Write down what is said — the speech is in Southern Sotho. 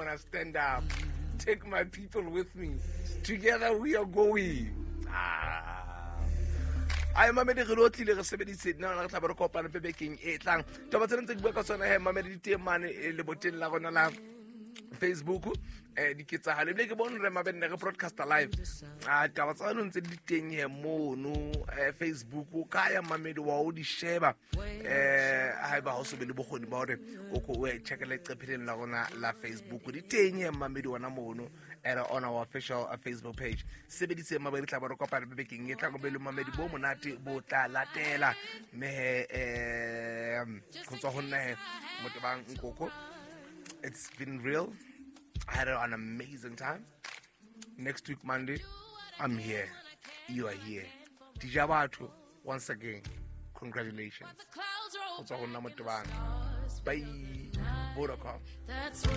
Mona, stand up. Take my people with me. Together we are going. Ah. Ai, mamedi, re lo tlile re sebedise nna re tla be re kopane pe bekeng e tlang. Taba tsena ntse ke bua ka tsona he, mamedi, di teng mane leboteng la rona la Facebook, diketsahalo. Ebile ke bone re mabenne re broadcaster live a taba tsa no ntse di teng he mono Facebook. O ka ya, mamedi, wa o di sheba haeba ha o so be le bokgoni ba hore o ko o e checkele leqepheleng la rona la Facebook. Di teng he, mamedi, ona mono at on our official Facebook page. Sebedise, mamedi, tla ba re kopana bekeng e tlang. Be le mamedi bo monate bo tla latela. Mme he, go tswa ho nna he, Motebang Nkoko, it's been real. I had an amazing time. Next week Monday, I'm here, you are here. Dija batho, once again, congratulations. Go tswa go nna Motebang. Bye, Vodacom. That's when